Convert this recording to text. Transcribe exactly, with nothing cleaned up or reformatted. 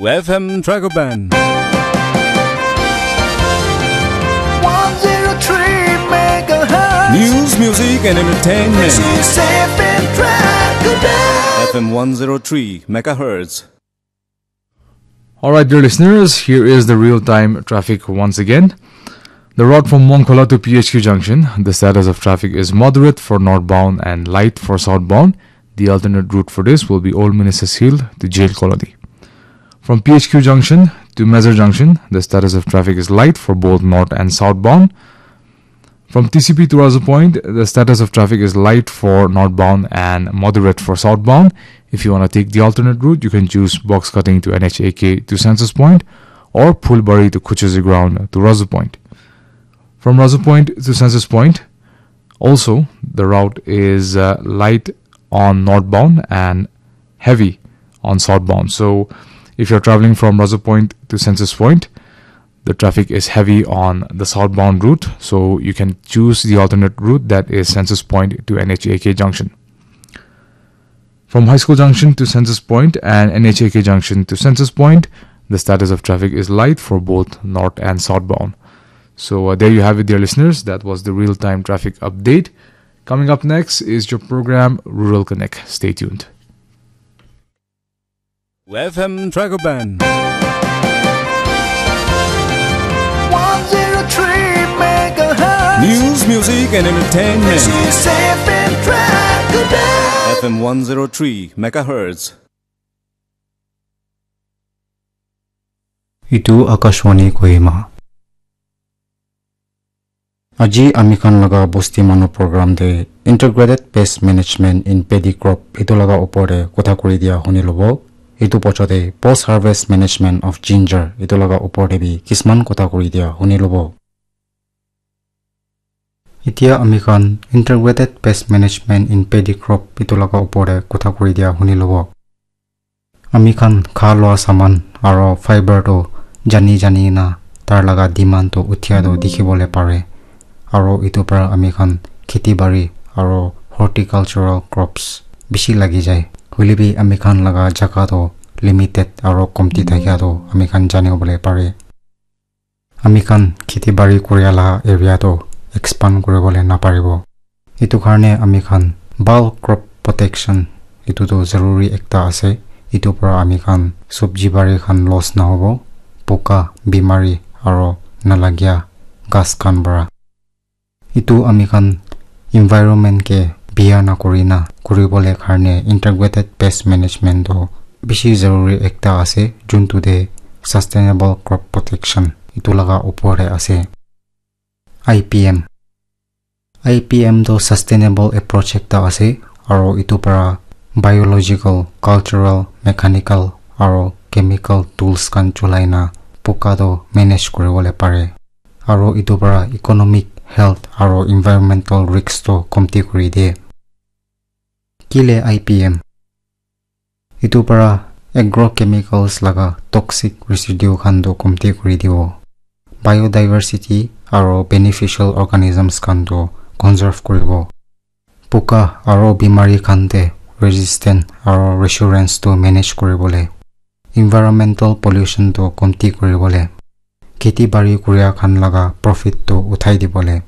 F M Dragoban. one zero three megahertz. News, music, and entertainment. This is F M Dragoban. F M one zero three megahertz. All right, dear listeners, here is the real-time traffic once again. The route from Mongkhola to P H Q junction, the status of traffic is moderate for northbound and light for southbound. The alternate route for this will be Old Ministers Hill to Jail Colony. From P H Q junction to Mezar junction, the status of traffic is light for both north and southbound. From T C P to Razu Point, the status of traffic is light for northbound and moderate for southbound. If you want to take the alternate route, you can choose box cutting to N H A K to Census Point or Phulbari to Kuchuzi Ground to Razu Point. From Razu Point to Census Point, also the route is uh, light on northbound and heavy on southbound. So if you're traveling from Razu Point to Census Point, the traffic is heavy on the southbound route, so you can choose the alternate route, that is Census Point to N H A K junction. From High School junction to Census Point and N H A K junction to Census Point, the status of traffic is light for both north and southbound. So uh, there you have it, dear listeners. That was the real-time traffic update. Coming up next is your program Rural Connect. Stay tuned. F M Dragoban. one zero three megahertz. News, music, and entertainment. This is F M Dragoban. F M one zero three megahertz. Itu Akashvani Kohima. Aji ami khan laga bosti manu program te Integrated Pest Management in Paddy Crop itu laga upor te kotha kuri dia huni lobo. Itu pocho te Post Harvest Management of Ginger itu laga upor te bi kisman kotha kuri dia huni lobo. Itia ami khan Integrated Pest Management in Paddy Crop itu laga upor te kotha kuri dia huni lobo. Ami khan kha loa saman aro fiber to jani jani na tar laga demand to uthia to dikhi bole pare. Aro itu para ami khan kheti bari aro horticultural crops bishi lagi jai. Hoile bi ami khan laga jaga to limited aro komti thakia to ami khan jani bole pare. Ami khan kheti bari kuria la area to expand kuri bole na paribo. Itu karne ami khan bulk crop protection itu to zaruri ekta ase. Itu para ami khan sabji bari khan loss na hobo. Poka, bimari aro nalagia gas khan para. Itu ami khan environment ke biya na kuri na kuri bole karne Integrated Pest Management to bishi zaruri ekta ase, juntu te Sustainable Crop Protection itu laga upor te ase. I P M. I P M to sustainable approach ekta ase, aro itu para biological, cultural, mechanical, aro chemical tools khan cholai na poka to manage kuri bole pare. Aro itu para economic, health, aro environmental risks to komti kuri de. Kile I P M? Itu para agrochemicals laga toxic residue khan to komti kuri dibo. Biodiversity aro beneficial organisms khan to conserve kuribo. Poka aro bimari khan te resistant aro resistance to manage kuribole. Environmental pollution to komti kuribole. Kheti bari kuria khan laga profit to uthai dibole.